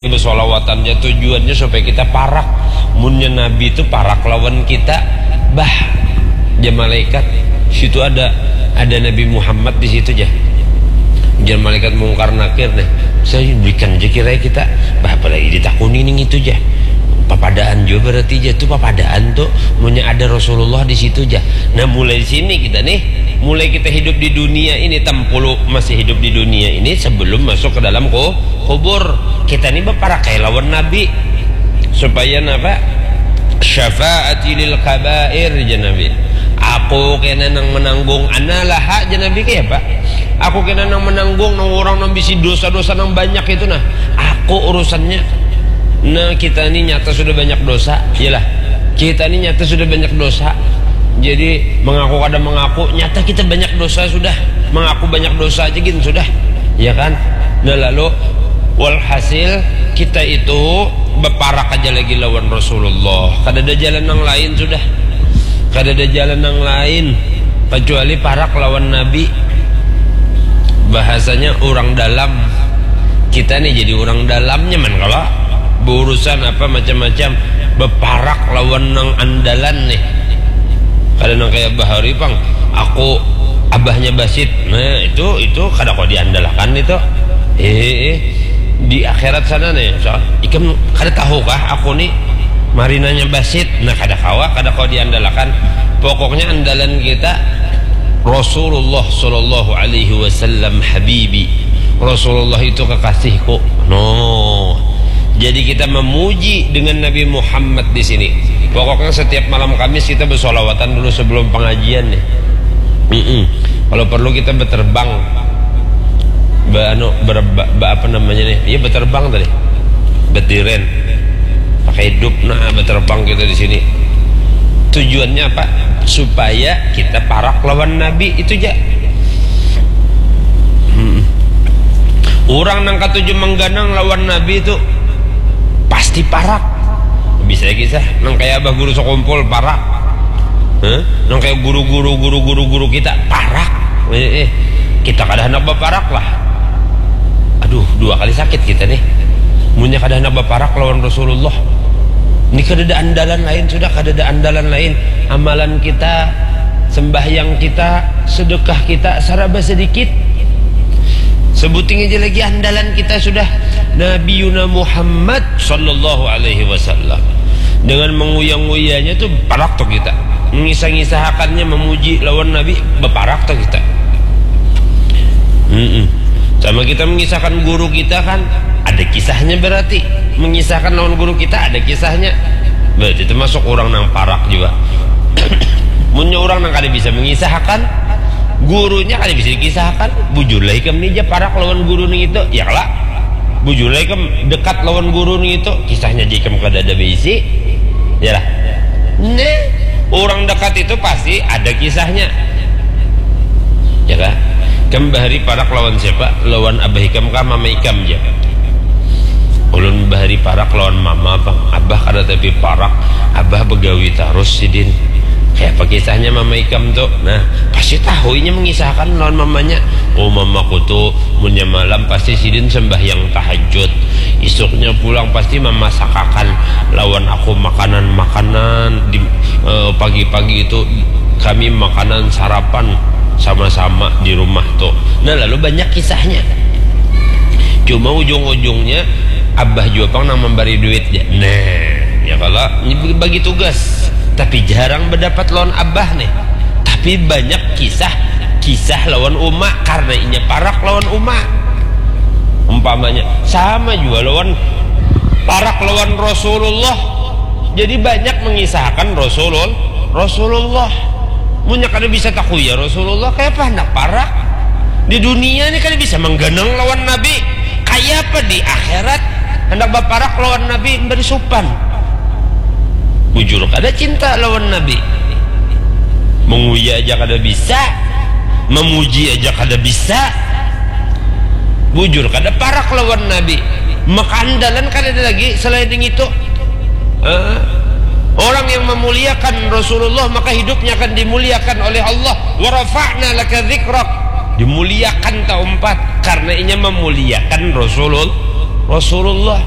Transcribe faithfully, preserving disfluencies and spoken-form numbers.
Bersolawatan ja tujuannya supaya kita parak. Munnya Nabi itu parak lawan kita, bah, ja malaikat. Situ ada ada Nabi Muhammad di situ ja. Jar malaikat Mungkar Nakir deh. Saya berikan je kira kita. Bah, apalagi ditakuni ning itu ja. Papadaan juga berarti ja tuh papadaan tuh. Munnya ada Rasulullah di situ ja. Nah, mulai sini kita nih, mulai kita hidup di dunia ini, tampulu masih hidup di dunia ini sebelum masuk ke dalam ku- kubur. Kita ni baparakai lawan Nabi supaya napa? Syafaati lil kabair, jar Nabi. Aku kena nang menanggung, ana laha, jar Nabi, kaya apa? Aku kena nang menanggung nang orang nang bisi dosa-dosa nang banyak itu nah. Aku urusannya. Nah, kita ni nyata sudah banyak dosa, iyalah. Kita ni nyata sudah banyak dosa. Jadi mengaku kada mengaku, nyata kita banyak dosa sudah. Mengaku banyak dosa aja gin sudah, ya kan? Nah, lalu walhasil kita itu beparak aja lagi lawan Rasulullah. Kada ada jalan yang lain sudah. Kada ada jalan yang lain kecuali parak lawan Nabi. Bahasanya orang dalam. Kita nih jadi orang dalam nyaman kalau berurusan apa macam-macam, beparak lawan nang andalan nih. Kada nang kayak bahari pang, aku abahnya Basit. Nah, itu itu kada kau diandalkan itu. Eh, eh. Di akhirat sana nih, so, ikam kada tahu kah aku nih marinanya Basit? Nah, kada kawa, kada kau diandalkan. Pokoknya andalan kita Rasulullah sallallahu alaihi wasallam habibi. Rasulullah itu kekasihku. No. Jadi kita memuji dengan Nabi Muhammad di sini. Pokoknya setiap malam Kamis kita bersolawatan dulu sebelum pengajian nih. Mm-mm. Kalau perlu kita berterbang. Ba, anu, ber, ba, ba, apa namanya nih? Iya, berterbang tadi. Betiren. Pakai hidup nah berterbang kita di sini. Tujuannya apa? Supaya kita parak lawan Nabi itu ja. Hmm. Orang nang katuju mengganang lawan Nabi itu pasti parak. Bisa kisah nang kayak abah guru sekumpul parak. Huh? Nang kayak guru-guru guru-guru guru kita parak. Eh, eh. Kita kada hendak berparak lah. Aduh, dua kali sakit kita nih. Munnya kada hendak berparak lawan Rasulullah. Ini kada ada andalan lain sudah, kada ada andalan lain. Amalan kita, sembahyang kita, sedekah kita, saraba sedikit. Sebuting aja lagi andalan kita sudah Nabi Yuna Muhammad sallallahu alaihi wasallam. Dengan menguyang-uyanya tuh parak tuh kita. Mengisah-ngisahakannya memuji lawan Nabi, berparak tuh kita. Mm-mm. Sama kita mengisahkan guru kita kan ada kisahnya berarti. Mengisahkan lawan guru kita ada kisahnya. Berarti termasuk orang nang parak juga. Munnya orang nang kada bisa mengisahkan gurunya kada bisa dikisahkan. Bujurlah ikam ni ja parak lawan guru nih itu, ya lah. Bujurlah ikam dekat lawan guru nih itu, kisahnya ja ikam kada ada berisi. Ya lah. Nih, orang dekat itu pasti ada kisahnya. Ya kah? Ikam bahari parak lawan siapa? Lawan abah ikam kah mama ikam ja? Ulun bahari parak lawan mama pang. Abah kada tapi parak. Abah begawi tarus sidin. Kayak apa kisahnya mama ikam tuh? Nah, pasti tahu inya mengisahkan lawan mamanya. Oh, mamaku tuh munnya malam pasti sidin sembahyang tahajud. Isuknya pulang pasti mamasakakan lawan aku makanan-makanan di eh, pagi-pagi itu kami makanan sarapan sama-sama di rumah tuh. Nah, lalu banyak kisahnya. Cuma ujung-ujungnya abah juga pang nang memberi duit ya. Nah, ya kalau ini bagi tugas, tapi jarang berdapat lawan abah nih. Tapi banyak kisah kisah lawan uma karena inya parak lawan uma. Umpamanya sama juga lawan parak lawan Rasulullah. Jadi banyak mengisahkan Rasulul Rasulullah. Munnya kada bisa takuya Rasulullah, kayak apa hendak parak? Di dunia ini kada bisa menggenang lawan Nabi. Kayak apa di akhirat hendak berparak lawan Nabi memberi supan? Bujur kada cinta lawan Nabi. Menguya aja kada bisa, memuji aja kada bisa. Bujur kada parak lawan Nabi. Maka andalan kada ada lagi selain yang itu. Eh, orang yang memuliakan Rasulullah maka hidupnya akan dimuliakan oleh Allah. Wa rafa'na laka dzikrak. Dimuliakan taumpat karena inya memuliakan Rasulul Rasulullah.